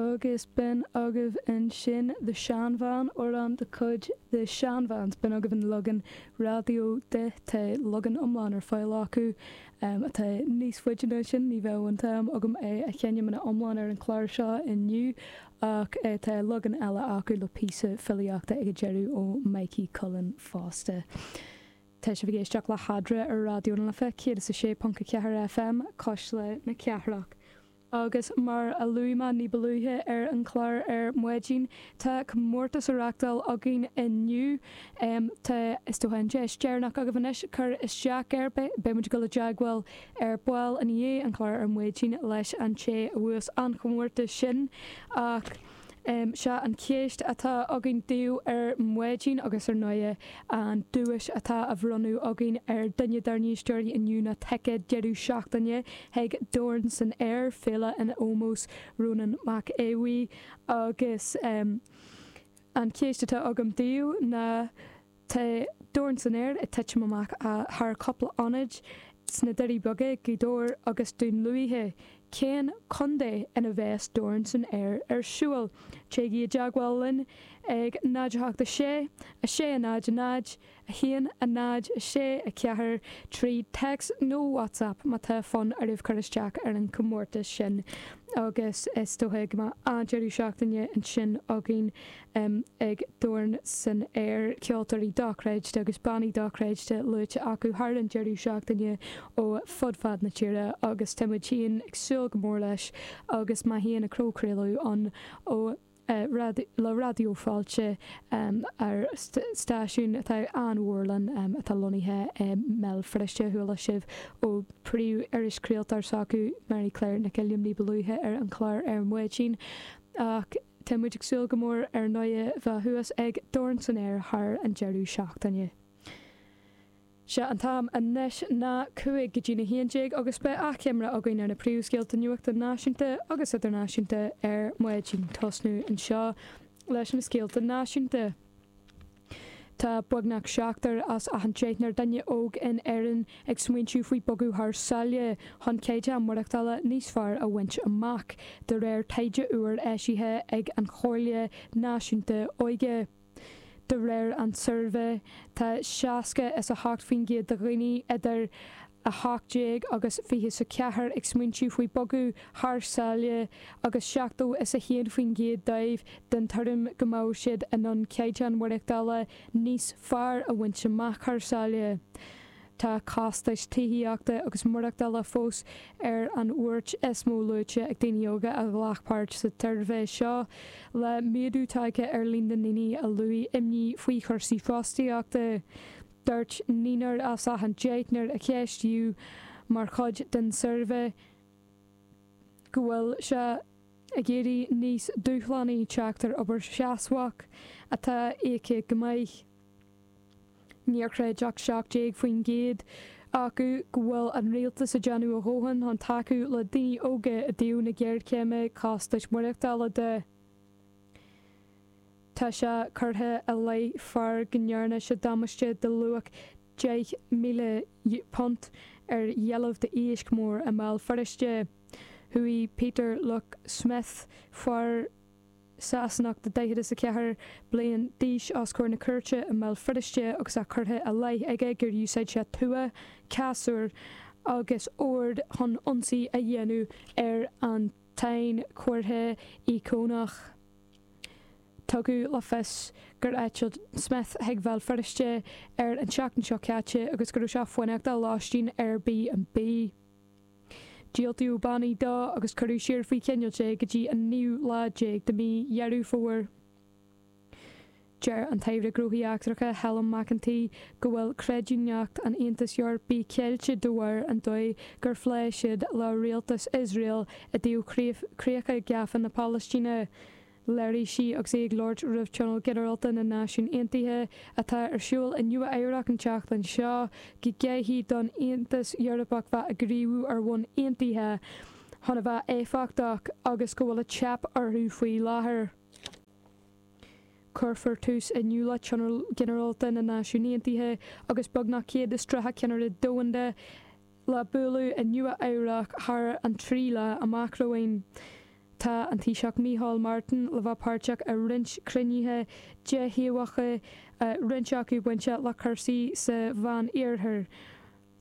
Agus b'in agaibh ansin The Shan Van, amhrán de chuid The Shan Vans. B'in agaibh an leagan raidió de. Tá leagan iomlán ar fáil acu atá níos faide ná sin. Ní bheadh an t-am agam é a sheinm ina iomlán ar an chlár seo inniu ach tá leagan eile acu le píosa filíochta ag an deireadh ó Mikey Cullen fosta. Tá sibh ag éisteacht le hEadra ar Raidió na Life 106.4 FM, Cuisle na Cathrach. Agus mar a luaigh mé ní ba luaithe ar an chlár ar maidin, tá comórtas á reachtáil againn inniu. Tá, is dócha, an deis deireanach agaibh anois cur isteach air. Beidh muid ag dul i dteagmháil ar ball i ndiaidh an chláir ar maidin leis an té a bhuas an chomórtas sin. Ach. Sea, an cheist atá againn daoibh ar maidin, agus ar ndóighe an duais atá á bhronnadh againn ar duine dár n-éisteoirí inniu ná ticéad deireadh seachtaine chuig Dorn san Aer, féile in ómós Rónán Mac Aodha Bhuí. Agus an cheist atá agam daoibh ná. Tá Dorn san Aer ag titim amach thar cúpla ionad sna Doirí Beaga, Gaoth Dobhair agus Dún Lúiche. Cén contae ina bheas Dorn san Aer ar siúl? Téigí i dteagmháil linn ag 0 8 6 6 0 0 1 0 6 4 trí text nó WhatsApp má tá fonn oraibh cur isteach ar an chomórtas sin agus is dócha go mbeidh an-deireadh seachtaine ansin againn. ag Dorn san Aer, ceoltóirí dochreidte agus bannaí dochreidte luaite acu thar an deireadh seachtaine ó fud fad na tíre agus tá muid féin ag súil go mór leis agus mé féin ag craoladh ann ó le Raidió Fáilte ar stáisiún atá an-mhór linn atá lonnaithe i mBéal Feirste. Chuala sibh ó phríomh-irischraoltóir s'acu, Mary Claire Nic Uilliam ní ba luaithe ar an chlár ar maidin ach Tá muid ag súil go mór ar ndóighe bheith thuas ag Dorn san Aer thar an deireadh seachtaine. Sé an t-am anois ná 5 go dtí'n 11 agus beidh achoimre againn ar na príomhscéalta nuachta náisiúnta agus idirnáisiúnta ar maidin. Tosnú anseo leis na scéalta náisiúnta. Tá beagnach seachtar as achan deichniúr duine óg in Éirinn ag smaointiú faoi bogadh thar sáile chun caighdeán maireachtála níos fearr a bhaint amach, de réir taighde úr eisithe ag an Chomhairle Náisiúnta Óige. De réir an tsuirbhé, tá 60 is 8% de dhaoine idir 18 agus 24 ag smaointiú faoi bogadh thar sáile agus 70 is 1% dóibh den tuairim go mbeadh siad in ann caighdeán maireachtála níos fearr a bhaint amach thar sáile. Tá costais tithíochta agus maireachtála fós ar an bhuairt is mó luaite ag daoine óga a ghlac páirt sa tsuirbhé seo, le méadú tagtha ar líon na ndaoine a luaigh imní faoi chúrsaí fostaíochta. Dúirt naonúr as achan deichniúr a ceistíodh mar chuid den suirbhé go bhfuil sé ag éirí níos dúshlánaí teacht ar obair sheasmhach atá íoctha go maith. Níor chreid ach 17% acu go bhfuil an rialtas ag déanamh a dhóthain chun tacú le daoine óga i dtaobh na géarchéime costais maireachtála de. Tá sé curtha i leith fear go ndearna sé damáiste de luach £10,000 ar dheilbh d'iasc mór i mBéal Feirste. Chuaigh Peter Luke Smith, fear Sasanach de 44 bliain d'aois, os comhair na cúirte i mBéal Feirste agus é curtha i leith aige gur úsáid sé tua, casúr agus ord chun ionsaí a dhéanamh ar an tsainchomhartha íocónach. Tugadh le fios gur eitil Smith chuig Bhéal Feirste ar an tseachtain seo caite agus go raibh sé ag fanacht i lóistín Airbnb. Diúltaíodh bannaí dó agus cuireadh siar faoi choinneáil é go dtí an naoú lá déag de mhí Dheireadh Fómhair. Deir an tAire Gnóthaí Eachtracha Helen McEntee go bhfuil creidiúnacht an Aontais Eorpaigh ceilte de bharr an dóigh gur phléigh siad le rialtas Iosrael i dtaobh chríocha gafa na Palaistíne. Léirigh sí agus í ag labhairt roimh Tionól Ginearálta na Náisiún Aontaithe atá ar siúl i Nua Eabhrac an tseachtain seo go gcaithfidh don Aontas Eorpach bheith ag gníomhú ar bhonn aontaithe chun a bheith éifeachtach agus go bhfuil ag teip orthu faoi láthair. Cuirfear tús inniu le Tionól Ginearálta na Náisiún Aontaithe agus beagnach 130 ceannaire domhanda le bualadh i Nua Eabhrac thar an 3 lá amach romhainn. Tá an Taoiseach Micheál Martin le bheith páirteach i roinnt cruinnithe déthaobhacha, roinnt acu bainteach le cúrsaí sa Mheán Iarthar.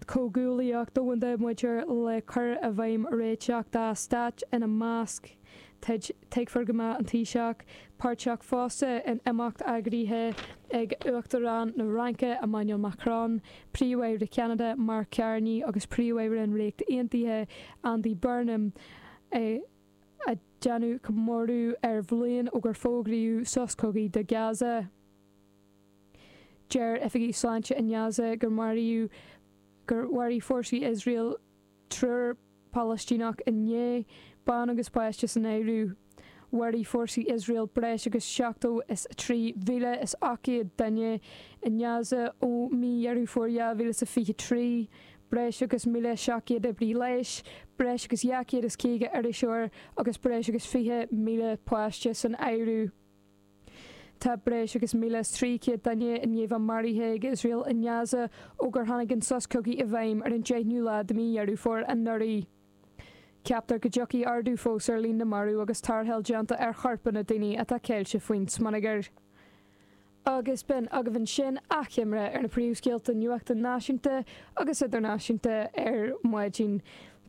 Comhghuaillíocht Domhanda maidir le cur i bhfeidhm réiteach dá stát ina measc. Tuigfear go mbeidh an Taoiseach páirteach fosta in imeacht eagraithe ag Uachtarán na Fhraince Emmanuel Macron, Príomh-Aire Cheanada Mark Carney agus Príomh-Aire an Ríocht Aontaithe Andy Burnham ag déanamh comóradh ar bhliain ó gur fógraíodh sos cogaidh do Gaza. Deir oifigigh sláinte i nGaza gur maraíodh gur mharaigh fórsaí Iosrael triúr Palaistíneach inné, bean agus páiste san áireamh. Mharaigh fórsaí Iosrael breis agus 73,800 duine i nGaza ó mí Dheireadh Fómhair 2023, breis agus 1,700 oibrí leighis, breis agus 250 iriseoir agus breis agus 20,000 páiste san áireamh. Tá breis agus 1,300 duine i ndiaidh bheith maraithe ag Iosrael i nGaza ó gur tháinig an sos cogaidh i bhfeidhm ar an 10ú lá de mhí Dheireadh Fómhair anuraidh. Ceaptar go dtiocfaidh ardú fós ar líon na marbh agus tarrtháil déanta ar chorpanna daoine atá ceilte faoin smionagar. Agus b'in agaibh ansin achoimre ar na príomhscéalta nuachta náisiúnta agus idirnáisiúnta ar maidin.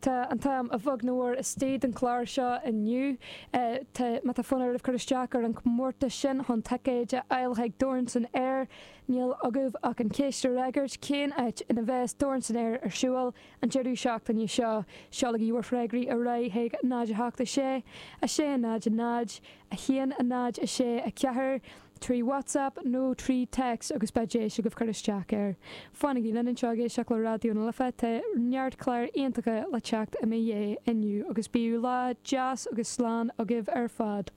Tá an t-am a bheag nó a mhór istigh don chlár seo inniu. Tá, má tá fonn oraibh cur isteach ar an chomórtas sin chun ticéid a fháil chuig Dorn san Aer, níl agaibh ach an cheist a fhreagairt, cén áit ina bheas Dorn san Aer ar siúl an deireadh seachtaine seo? Seolaigí bhur freagraí ar aghaidh chuig 0 8 6 6 0 0 1 0 6 4. trí WhatsApp nó trí text agus beidh deis agaibh cur isteach air. Fanaigí linn anseo ag éisteacht le Raidió na Life, tá neart cláir iontacha le teacht i mo dhiaidh inniu agus bíodh lá deas agus slán agaibh ar fad.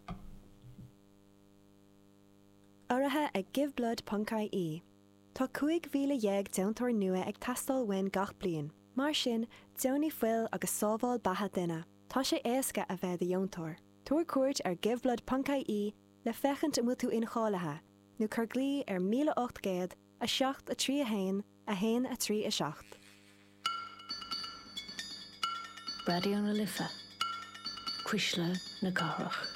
Urraithe ag Giveblood ponc ie. Tá 15,000 deontóir nua ag teastáil uainn gach bliain. Mar sin, deonaigh fuil agus sábháil beatha duine. Tá sé éasca a bheith i do dheontóir. Tabhair cuairt ar giveblood ponc ie le féachaint an bhfuil tú incháilithe, nó cuir glao ar 1800 7 3 1 1 3 7. Raidió na Life, Cuisle na Cathrach.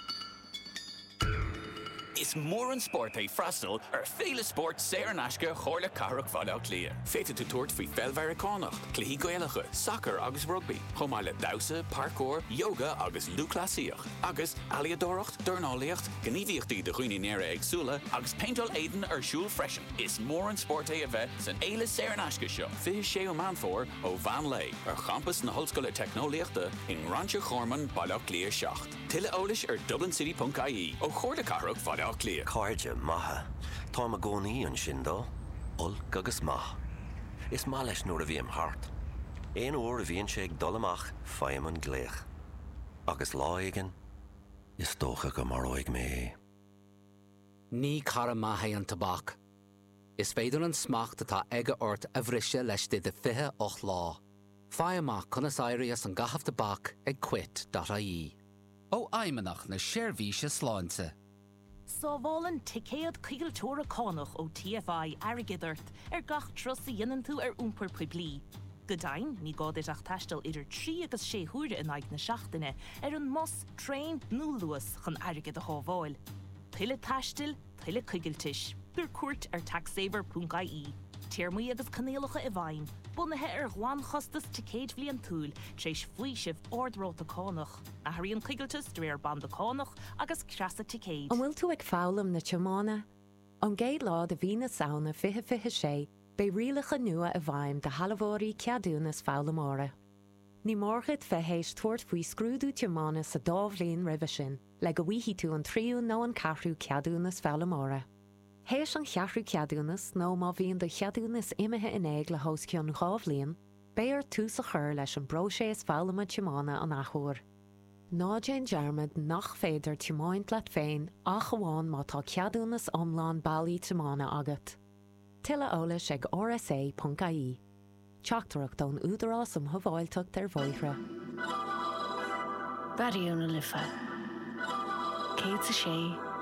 Is mór an spórt é freastal ar Féile Spóirt saor in aisce Chomhairle Cathrach Bhaile Átha Cliath. Féadfaidh tú tabhairt faoi pheil Mheiriceánach, cluichí Gaelacha, sacar agus rugbaí, chomh maith le damhsa, parkour, yoga agus lúthchleasaíocht. Agus ealaíodóireacht, dornálaíocht, gníomhaíochtaí do dhaoine néara-éagsúla agus péinteáil éadain ar siúl freisin. Is mór an spórt é a bheith san fhéile saor in aisce seo, 26ú Meán Fómhair ó mheán lae, ar champas na hOllscoile Teicneolaíochta i nGráinseach Ghorman, Baile Átha Cliath 7. Tuilleadh eolais ar dublincity.ie ó Chomhairle Cathrach Bhaile Átha Cliath. Cairde maithe. Táim i gcónaí ansin dó. Olc agus maith. Is maith leis nuair a bhím thart. Aon uair a bhíonn sé ag dul amach faighim an glaoch. Agus lá éigin, is dócha go maróidh mé é. Ní cara maith é an tobac. Is féidir an smacht atá aige ort a bhriseadh laistigh de 28 lá. Faigh amach conas éirí as an gcaitheamh tobac ag quit.ie. Ó Fheidhmeannacht na Seirbhíse Sláinte. Sábhálann ticéad coigilteora cánach ó TFI airgead ort ar gach turas a dhéanann tú ar iompar poiblí. Go deimhin, ní gá duit ach taisteal idir 3 agus 6 huaire in aghaidh na seachtaine ar an mbus, traein nó Luas chun airgead a shábháil. Tuilleadh taistil, tuilleadh coigiltis. Tabhair cuairt ar taxsaver.ie. Téarmaí agus coinníollacha i bhfeidhm, bunaithe ar ghlanchostas ticéid bhliantúil tar éis faoisimh ard-ráta cánach. Athraíonn coigilteas de réir banda cánach agus creasa ticéid. An bhfuil tú ag foghlaim na tiomána? Ón gcéad lá de mhí na Samhna 2026, beidh rialacha nua i bhfeidhm do shealbhóirí ceadúnas foghlaimeora. Ní mór duit bheith théis tabhairt faoi scrúdú tiomána sa dá bhliain roimhe sin le go bhfaighidh tú an tríú nó an ceathrú ceadúnas foghlaimeora. Théis an cheathrú ceadúnas nó má bhíonn do cheadúnas imithe in éag le hos cionn 2 bhliain, beidh ort tús a chur leis an bpróiseas foghlama tiomána an athuair. Ná déan dearmad nach féidir tiomáint leat féin ach amháin má tá ceadúnas iomlán bailí tiomána agat. Tuilleadh eolais ag rsa.ie. Teachtaireacht ón Údarás um Shábháilteacht ar Bhóithre. Raidió na Life 106.4.